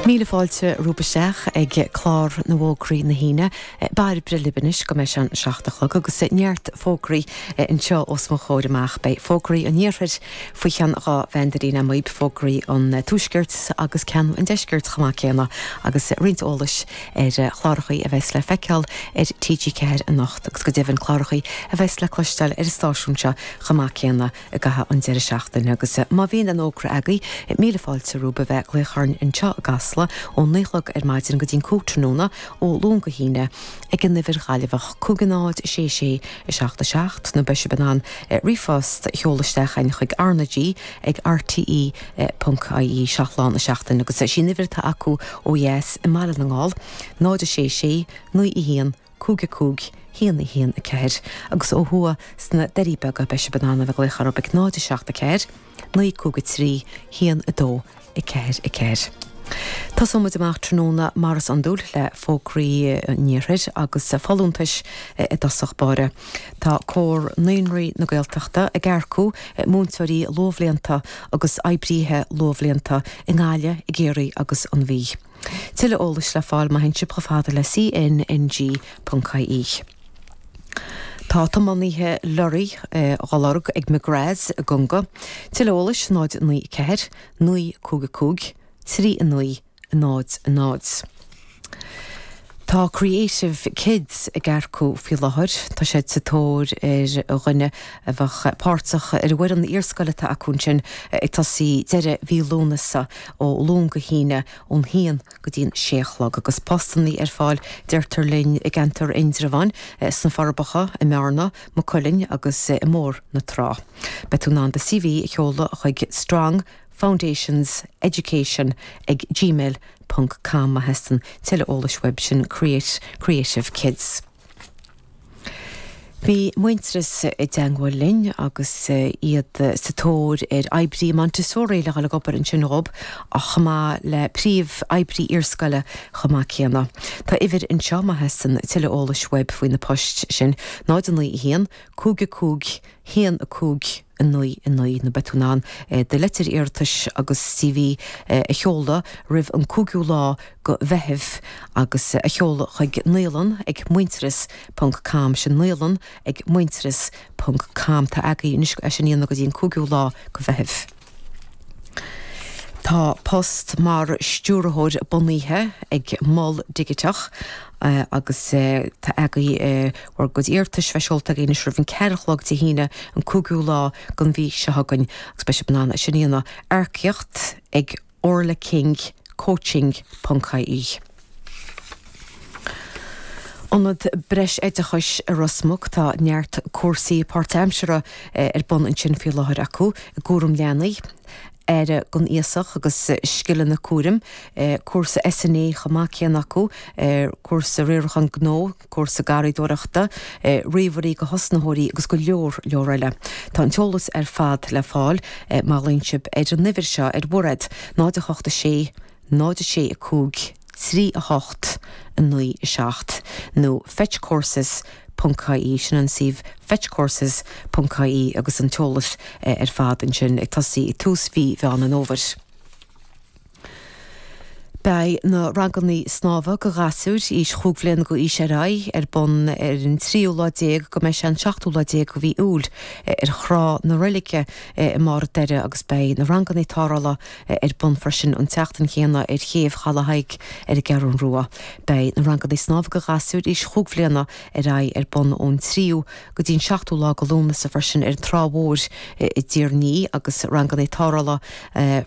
Míle fáilte romhaibh isteach ag clár na bhfógraí na hAoine. Bairbre libh anois go mbeidh sé an 7 a chlog agus neart fógraí anseo os mo chomhair amach. Beidh fógraí an iarthair faoi cheann 12 mheandairín amaí, fógraí an tuaiscirt agus ceann an deiscirt chomh maith céanna agus roinnt eolais ar chlárachaí a bheas le feiceáil ar TG4 anocht agus go deimhin clárachaí a bheas le cloisteáil ar an stáisiún seo chomh maith céanna. i gcaitheamh an deireadh seachtaine agus má bhíonn aon fhógra agaibh, míle fáilte romhaibh a bheith ag glaoch orainn anseo i gCasla ó 9 a chlog ar maidin go dtí'n 5 tráthnóna ó Luan go hAoine ag an uimhir Ghaillimheach 50 6 6 7 7 nó beidh sibh in ann ríomhphost a sheoladh isteach chugainn chuig RnaG ag rte ponc ie 7 lá na seachtaine agus is í an uimhir atá acu ó dheas i mBaile na nGall 0 6 6 9 1 5 5 1 1 4 agus ó thuaidh sna Doirí Beaga beidh sibh in ann a bheith ag glaoch orthu ag 0 7 4 9 5 3 1 2 4 4. Tosóidh muid amach tráthnóna mar is iondúil le fógraí an iarthair agus folúntais i dtosach báire. Tá Comhar Naíonraí na Gaeltachta ag earcú múinteoirí luathbhlianta agus oibríthe luathbhlianta i nGaillimh, i gCiarraí agus an Mhí. Tuilleadh eolais le fáil má théann sibh chomh fada le CNNG.ie. Tá tiománaithe lorraí á lorg ag McGraths i gConga. Tuilleadh eolais 0 9 4 9 5 5 3 9 0 0. Tá Creative Kids ag earcú faoi láthair. Tá siad sa tóir ar dhuine a bheadh páirteach ar an bhfoireann iarscoile atá acu ansin ag tosaí deireadh mhí Lúnasa ó Luan go hAoine ón haon go dtí an sé a chlog agus postannaí ar fáil deirtear linn i gceantar Indreabháin, sna Forbacha, i mBearna, Maigh Cuilinn agus i mBóthar na Trá. Beidh tú in ann do CV a sheoladh chuig Strong Foundations Education ag gmail ponc com má theastaíonn tuilleadh eolais uaibh, sin Create Creative Kids. Bhí Muintearas i dteangmháil linn agus iad sa tóir ar oibrí Montessori le dhul ag obair ansin dhób ach chomh maith le príomh oibrí iarscoile chomh maith céanna. Tá uimhir anseo má theastaíonn tuilleadh eolais uaibh faoi na poist sin, 0 9 1 5 5 1 5 9 9 nó beidh tú in ann do leitir iarratais agus CV a sheoladh roimh an 5ú lá go Mheitheamh agus a sheoladh chuig naíolann ag muintearas ponc com sin naíolann ag muintearas ponc com Tá agaibh anois é sin a dhéanamh go dtí an 5ú lá go Mheitheamh. Tá post mar stiúrthóir bunaithe ag Mol Digiteach agus tá agaibh bhur gcuid iarratais bheith seolta agaibh anois roimh an 4 a chlog Dé hAoine an 5ú lá den mhí seo chugainn agus beidh sibh in ann é sin a dhéanamh earcaíocht ag orlaking coaching ponc ie. Ionad Breis-Oideachais i Ros Muc, tá neart cúrsaí páirtaimseartha ar bun ansin faoi láthair acu i gcúram leanaí, aire don aosach agus scileanna cúraim, cúrsa SNA chomh maith céanna acu, cúrsa riarachán gnó, cúrsa garraíodóireachta, ríomhairí do thosnaitheoirí agus go leor leor eile. Tá an t-eolas ar fad le fáil má ghlaonn sibh ar an uimhir seo ar Mhairéad, 0 8 6 0 6 5 3 8 9 7 nó fetchcourses ponc ie, sin an suíomh fetchcourses ponc ie agus an t-eolas ar fad ansin ag tosaí ag tús mhí Mheán an Fhómhair. Beidh na rangannaí snámha go ghasúir aois chúig bhliana go aois ar aghaidh ar bun ar an tríú lá déag go mbeidh sé an seachtú lá déag go mhí Iúil ar thrá na Reilige i mBarr an Doire agus beidh na rangannaí tarrthála ar bun freisin an tseachtain chéanna ar chéibh Chaladh Thaidhg ar an gCeathrú Rua. Beidh na rangannaí snámha go ghasúir aois chúig bhliana ar aghaidh ar bun ón tríú go dtí an seachtú lá go Lúnasa freisin ar an Trá Mhór i dTír an Fhia agus rangannaí tarrthála freisin.